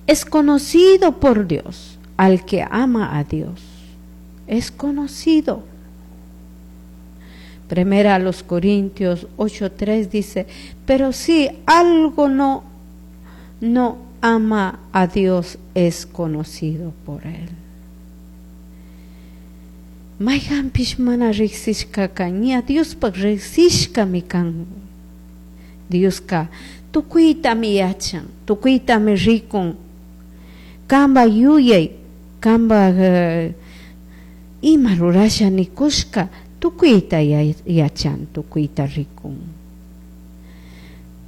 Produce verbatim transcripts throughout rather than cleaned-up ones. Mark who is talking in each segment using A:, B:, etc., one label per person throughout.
A: Es conocido por Dios al que ama a Dios. Es conocido. Primera a los Corintios ocho tres dice, pero si algo no, no ama a Dios, es conocido por él. Mayqanpish mana riqsishkaka ña Diospaq riqsishkami kan. Dioska tukuytami yachan, tukuytami rikun. Kamba yuyay, kamba uh, ima rurasha nikushka tukuyta yachan, tukuyta rikun.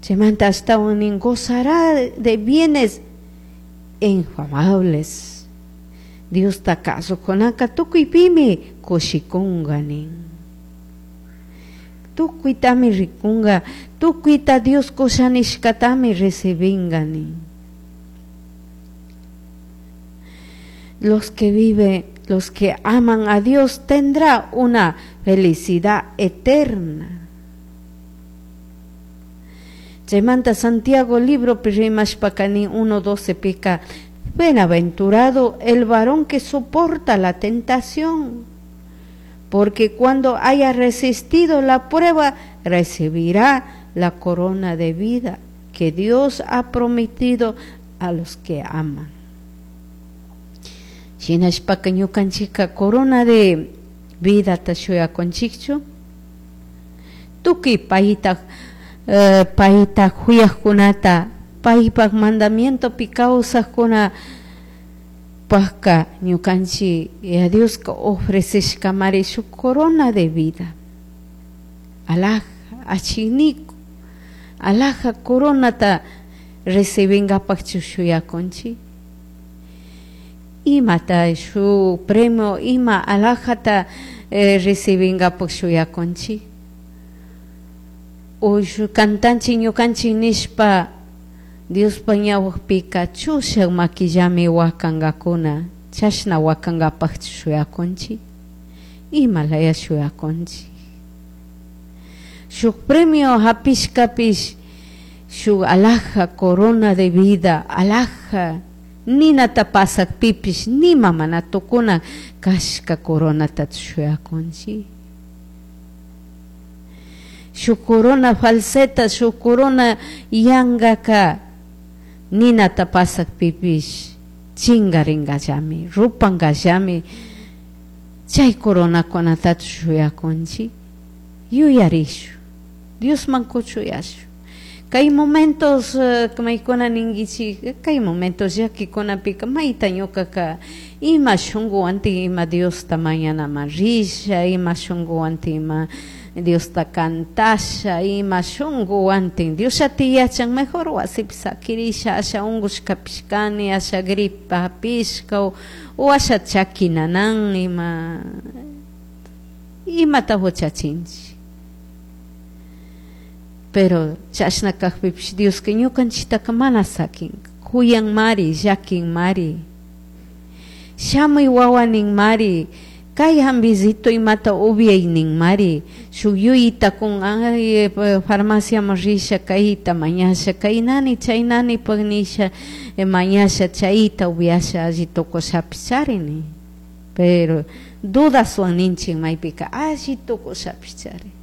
A: Chaymanta ashtawan nin gozará de bienes infamables. Diosta kasukunaka tukuypimi kushikunga nin. Tukuytami rikunga, tukuyta Dios kushanishkatami recibinga nin. Los que viven, los que aman a Dios tendrá una felicidad eterna. Chaymanta Santiago libro rimashpaka uno doce pica, bienaventurado el varón que soporta la tentación, porque cuando haya resistido la prueba, recibirá la corona de vida que Dios ha prometido a los que aman. Shinashpaka ñukanchika corona de vida ta shuyakunchikchu, tukuy payta uh, payta huyaqkunata, paypaq mandamientopi kawsaqkuna paqka ñukanchik ya Dioska ofreceshkamari shuk corona de vida. Alhaja achiniku, alhaja coronata recibinkapaqchu shuyakunchik. Imata shu premio, ima alhajata eh, recibinkapaq shuyakunchik. O shu kantanchik ñukanchik nishpa Diospa ñawpika chushak makillami wakankakuna, chashna wakankapaqchu shuyakunchik. Ima laya shuyakunchik. Shuk premio hapishkapish shuk alhaja corona de vida, alhaja ninata pasakpipish nima mana tukuna kashka coronata shuyakunchik. Shuk corona falseta, shuk corona yankaka ninata pasakpipish chingaringallami, rupankallami. Chay coronakunatachu shuyakunchik. Yuyarishu, Diosman kuchuyashu. Kay momentos uh, maykuna ninkichik, kay momentos llakikunapika mayta ñukaka ima shunkuwantin ima Diosta mañanaman risha, ima shunkuwantin ima Diosta kantasha, ima shunkuwantin Diosllati yachan, mejor wasipi sakirisha, asha unkushkapish kani, asha gripa hapishka o asha chaki nanan, ima imata huchachinchik. Pero chashna kaqpipish Dioska ñukanchiktaka mana sakinka, kuyanmari, llakinmari. Shamuy wawa ninmari, kay hambisito imata upyay ninmari, shuk yuyita kun ay farmaciaman risha kayta mañasha, kaynani chaynani paq nisha mañasha chayta upyasha alli tukushapish charini. Pero dudaswan ninchik maypika alli tukushapish chari.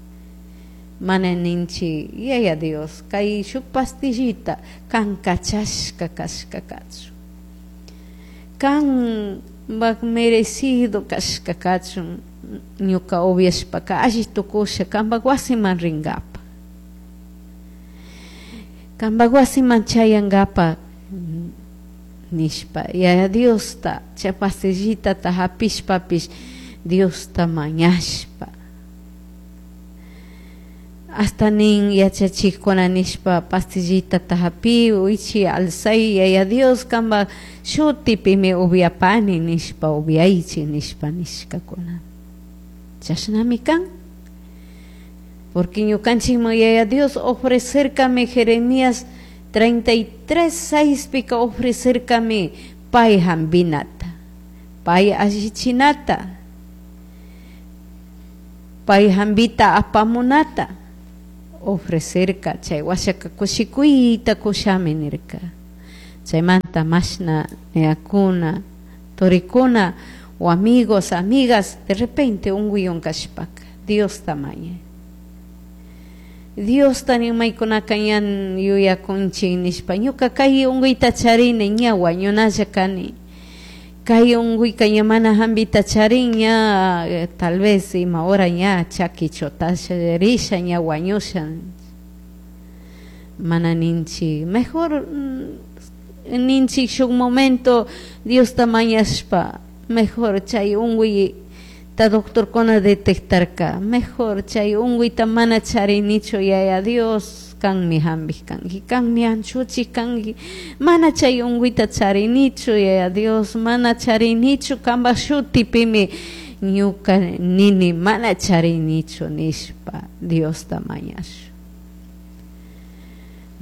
A: Mana ninchik yaya Dios kay shuk pastillita kan kachashka kashka kachun, kan baq merecido kashka kachun, ñuka upyashpaka alli tukusha kanpaq wasiman rinkapa, kanpaq wasiman chayankapa nishpa yaya Diosta chay pastillitata hapishpapish Diosta mañashpa. Hasta nin yachachikkuna nishpa pastillitata hapi wichi alzay yaya Dios kanpa shutipimi upyapani nishpa upyaychik nishpa nishkakuna. Chashnami kan. Porque ñukanchikman yaya Dios ofrecerkami Jeremías treinta y tres seis pika ofrecerkami pay hampinata, pay allichinata, pay hampita apamunata ofrecerka. Chay washaka kushikuyta kushami nirka. Chaymanta mashna niyakuna, turikuna o amigos, amigas, de repente unkuywan kashpaka Diosta mañay. Diosta nimaykunaka ña yuyakunchik nishpa ñuka kay unkuyta charini ña wañunalla kani. Kay unkuyka ña mana hampita charin ña tal vez ima hora ña chaki chutasha risha ña wañusha. Mana ninchik mejor ninchik shuk momento Diosta mañashpa mejor chay unkuyta doctorkuna detectarka mejor chay unkuyta mana charinichu yaya Dios kanmi hampik kanki kanmi anchuchik kanki mana chay unkuyta charinichu yaya Dios mana charinichu kanpak shutipimi ñuka nini mana charinichu nishpa Diosta mañashun.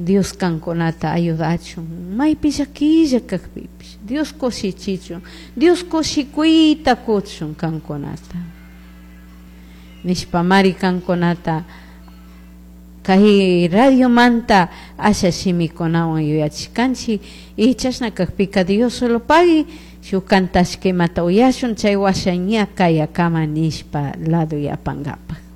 A: Dios kankunata ayudachun maypi llaquilla kakpipish Dios kushichichun Dios kushikuyta kuchun kankunata nishpamari kankunata kay radiomanta asha shimikunawan yuyachikanchik y chashna kakpika Dios solo pagui shuk kantashka imata uyashun chay washa ña kayakama nishpa lado yapankapaj.